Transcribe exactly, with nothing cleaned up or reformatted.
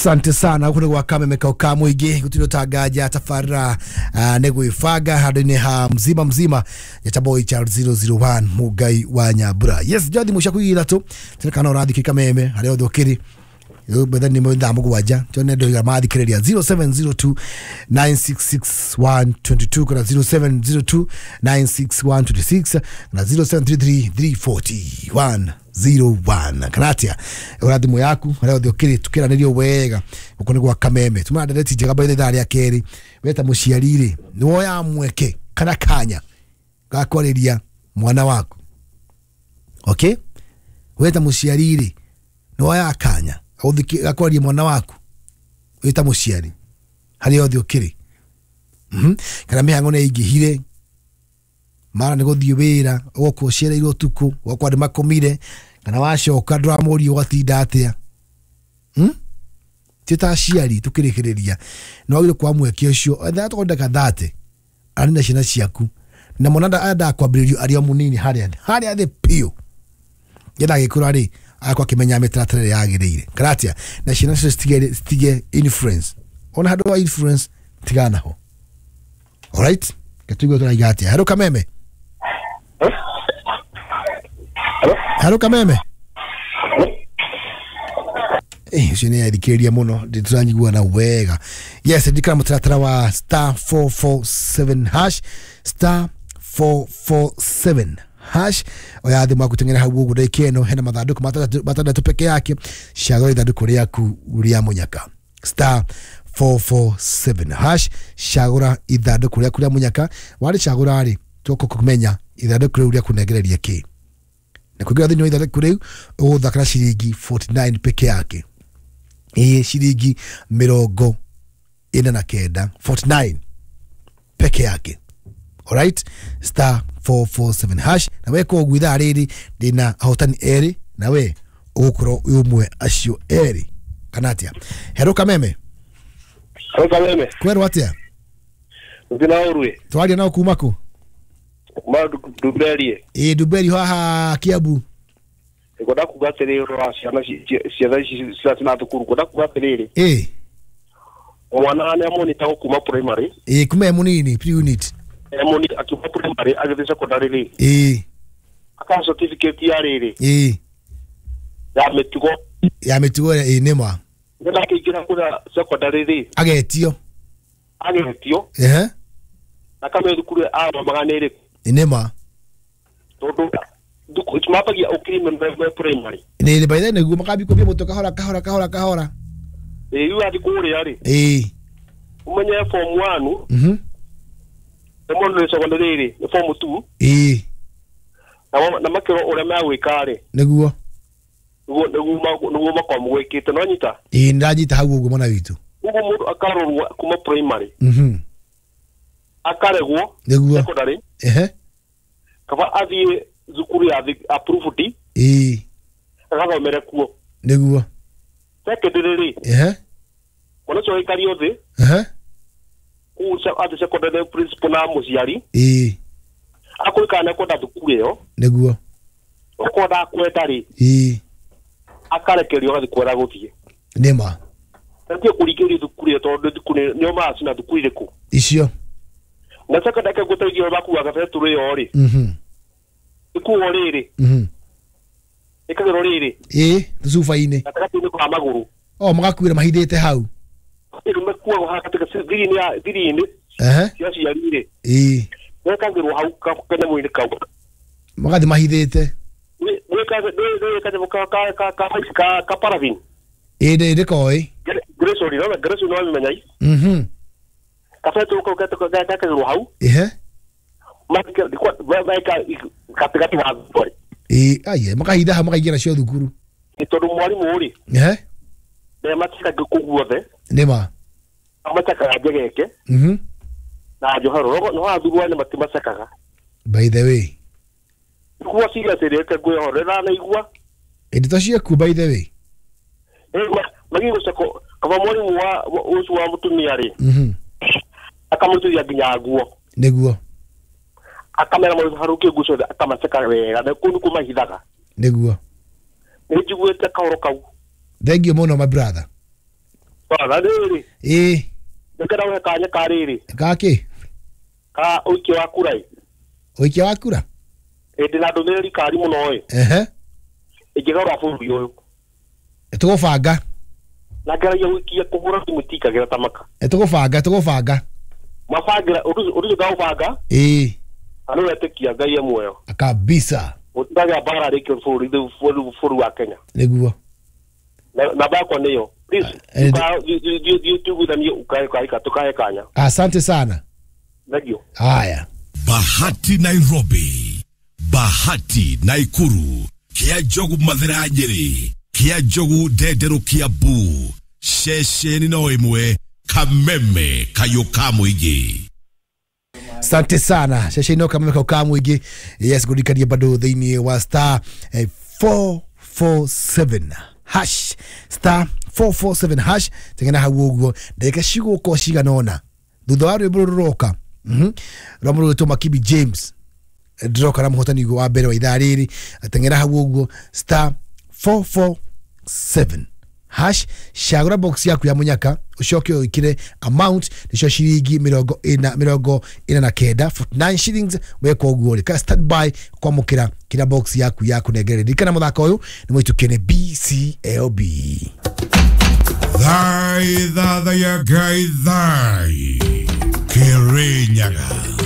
Asante sana huko gwa Kameme ka muingi gutiro tangaja tafarira uh, negwibanga handu-ini ha mzima mzima ya boy Charles zero zero one Mugai wa Nyambura. Yes, jadi musha kuira tu tirikana urathiki Kameme haria othe ukiri betha ni thaa mugwanja tuone ndo mathikiriria zero seven zero two nine six six one two two kana zero seven zero two nine six one two six na zero seven three three three four one zero one kanatia ura thimu yaku haria othe ukiri tukiranirio wega guku ni gwa Kameme tuma ndereti njega by the ria keri weta muciari ri ni woya mweke kana kanya gakwariria mwana waku. Okay, weta muciari ri ni woya kanya gakwaria mwana waku wita muciari haria othe ukiri mhm kana mihango ne ingihire mara ni guthie wira ugokorwo ucereirwo utuku ugakorwo andu makomire kana wacoka nduramuria ugatinda atia hmm ti ta aciari tukirikiriria no wagire kwa mweke ucio etha tukwendeka thate ari na ciana ciaku na mwana enda kwambiririo ari o munini haria haria thi piu yenda agikura ri akwa kimenya mitaratara ĩrĩa yagĩrĩire karatia na ciana cio citige citige influence ona handũ wa influence tigana naho. Alright, gatuigwe tũraiga atĩa. Hello Kameme. Hello Kameme. Eh, ucio nĩ athikĩrĩria mũno ndĩtũranyigua na wega. Yes, ndikara mũtaratara wa star four four seven hash star four four seven hash oya thimu yaku teng'era hau ũguo ndagĩka ĩno hena mathandũkũ matandatũ peke yake cagũra ithandũkũ rĩaku rĩa mũnyaka star four four seven hash cagũra ithandũkũ rĩaku rĩa mũnyaka warĩcagũra rĩ tũkũkũmenya ithandũkũ rĩu rĩakũnengereria kĩ na kũingĩra thĩinĩ wa ithandũkũ rĩu ũgũthakĩra ciringi forty nine peke yake ĩĩ ciringi mĩrongo ĩna na kenda forty nine peke yake. Alright, star four four seven hash na we ko ũguo ithaa rĩrĩ ndĩna ahotani erĩ na we ũgũkorwo wĩ ũmwe acio erĩ kana atĩa. Hello Kameme. Hello Kameme. Kwerwo atĩa? Ndina ũrue. Twaria nao kuma kũ? Kuma Ndumberie. Ĩĩ Ndumberie haha Kiambu. Ngwenda kuga atĩrĩrĩ ũhoro wa ciana ciana ici cina thukuru ngwenda kuga atĩrĩrĩ. Ĩĩ. Mwana nĩ amonitagwo kuma primary. Ĩĩ kuma e mũnini pre unit. Emoni akiuma primary agĩthiĩ secondary rĩ. Ĩĩ. Aka certificate ya rĩrĩ. Ĩĩ. Ya mĩtugo. Ya mĩtugo ĩĩ nĩ ma. Nĩgetha akĩingĩra kũrĩa secondary rĩ. Agetio. Agetio. Ehe. Na kamenya thukuru athomaga nĩ ĩrĩkũ. Ĩĩ nĩ ma. Tondũ thukuru mambagia ũkiri me primary. Nĩ by then nĩguo makambia kũmbia mũtwe kahora kahora kahora kahora. Ĩĩ rĩu athiĩ kũrĩa rĩ. Ĩĩ. Ũmenye form one. Mhm. Mũndũ nĩ secondary rĩ nĩ form two. Ĩĩ. Na na makĩrwo ũrĩa megwĩka rĩ. Nĩguo. Nĩguo nĩguo nĩguo makorwo gwĩkĩte no nyita. Ĩĩ ndanyita hau ũguo mwana witũ. Ũguo mũndũ akarorwo kuma primary. Mhm. Akaregwo. Nĩguo. Secondary. Ehe. Kaba athiĩ thukuru ya approved. Ĩĩ. Agathomere kuo. Nĩguo. Secondary rĩ. Ehe. Mwana ũcio aikario thĩ. Ehe. Kũu athiĩ secondary principal na mũciari. Ĩĩ. Akwĩka nĩ kwenda thukuru ĩyo. Nĩguo. Okorwo ndakwenda rĩ. Ĩĩ. Akarekererio agathiĩ kũrĩa gũthiĩ. Nĩ ma. Atige kũringĩrĩrio thukuru ĩyo tondũ thukuru nĩo maracina thukuru irĩkũ. Icio. Na secondary ngũteithia makuaga betũrũ ĩyo rĩ. Mhm. Ĩkuo rĩrĩ. Mhm. Ĩkagĩrwo rĩrĩ. Ĩĩ tũcuba-inĩ. Gatagatĩ-inĩ ka magũrũ. O magakuĩra mahithĩte hau. Rĩu makuagwo haha gatagatĩ thiri-inĩ ya thiri-inĩ. Ehe. Cia aciari rĩ. Ĩĩ. Mekagĩrwo hau kanyamũ-inĩ kau. Magathiĩ mahithĩte. Gwĩ ka ka ka ka ka paraffin. Ĩĩ ndĩ ndĩkoĩ. Gresori no Gresori no amenya. Mhm. Kabetũrũ kau gekagĩrwo hau. Ehe. Meka gatagatĩ wa thukuru. Ĩĩ aye makahitha hau makaingĩra nacio thukuru. Nĩ tondũ mwarimũ rĩ. Ehe. Ndemacekaga kũu guothe. Nĩ ma. Amacekaga njegeke. Mhm. Na njohero no athurwo nĩ matimacekaga. By the way. Nguo cigatĩrĩte ngwĩhorera na igua. Ĩndĩ to ciaku by the way. Ĩĩ magĩgũceko kaba mwarimũ wa ũcio wa mũtumia rĩ. Mhm. Akamũturia nginya nguo. Nĩguo. Akamera mũndũ harũkie nguo ciothe akamaceka wega na kũu nĩkuo mahithaga. Nĩguo. Nĩ njiguĩte kahoro kau. Thank you mũno my brother. Na rĩrĩ, Ĩĩ. Nĩngenda gũhe kanya ka rĩrĩ. Gakĩ? Ka ũikia wa kura ĩ. Ũikia wa kura. Ĩ, ndĩna ndũmĩrĩri kari mũno ĩ. Ehe. Ĩngĩgarũra bũrũri ũyũ. Tũgũbanga. Na ngeragia gũikia kũhũra thimũ itikagĩra ta maka. Tũgũbanga, tũgũbanga. Mabangĩra ũndũ ũcio, ũndũ ũcio ngaũbanga. Ĩĩ. Na nĩ wetĩkia Ngai e muoyo. Kabisa. Gũtiragĩa mbara rĩngĩ bũrũri bũrũri wa Kenya. Nĩguo. Na namba yakwa nĩyo. Please, Eh, thiĩ tuiguithanie ũkahe tũkahe kanya. Asante sana. Thank you. Haya. Bahati Nairobi, Bahati Naikuru, Kia Njogu Mathira Nyeri, Kia Njogu Ndenderũ Kiambu, ceceni no ĩmwe, Kameme kayũ ka mũingĩ. Asante sana ceceni no Kameme kau ka mũingĩ. Yes, ngũririkanie bado thĩinĩ wa star eh, four four seven hash, star four four seven hash, tengena hau ũguo ndagĩka cigũkorwo cigana ũna thutha wa rwĩmbo rũrũ rũroka mhm rwa mũndũ ũgwĩtwo Makibi James, ndĩroka na mũhotani wa mbere wa ithaa rĩrĩ. Tengera hau ũguo star four four seven hash, cagũra box yaku ya mũnyaka, ũcoke ũikire amount nĩcio ciringi mĩrongo ĩna mĩrongo ĩna na kenda, forty-nine shillings. Weka ũguo rĩ, ka stand by kwamũkĩra kĩrĩa box yaku ya kũnengereria. Ririkana mũthako ũyũ nĩ mũhĩtũkie nĩ B C L B. Thai thathaya Ngai thai Kĩrĩnyaga.